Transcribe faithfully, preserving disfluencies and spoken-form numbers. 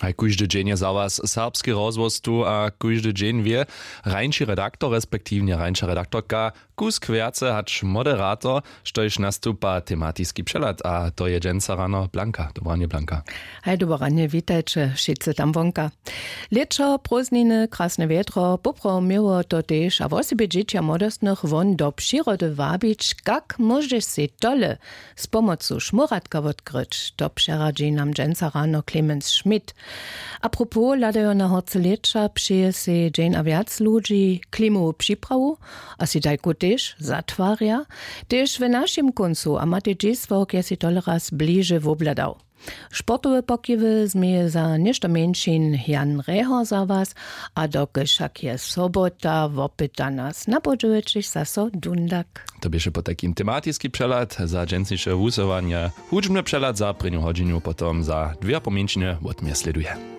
Haj kóždy dźeń je za was serbski rozhłos tu a kóždy dźeń wě hrańši redaktor respektiwnje hrańša redaktorka kusk wjace hač moderator, štož nastupa tematiski přehlad, a to je dźensa rano blanka. Dobranje blanka. Haj doboranje witajće wšitcy tam wonka. Lěćo prózdniny krasne wjetro poprawom měło to tež a wosebje dźěći a młodostnych won do přirody wabić. Kak móžeš sej tole z pomocu šmóratka wotkryć, to přeradźi nam dźensa rano clemens schmidt. Apropos hladajo na horce lěća přeje sej dźeń a wjac ludźi klimowu připrawu a sej tajku tež zatwarja. Tež w našim kóncu a matej dźisławk je sej toleraz bliže wobhladał. Sportowe pokiwy změje za něšto mjeńšin jan rehor za was. A dokelž wšak je sobota wopyta nas napodźełećeš zaso dundak. To běše potajkim tematiski přehlad za dźensniše wusyłanje. Hudźbny přehlad za prěnju hodźinju potom za dwě a po mjeńšinje wotměsleduje.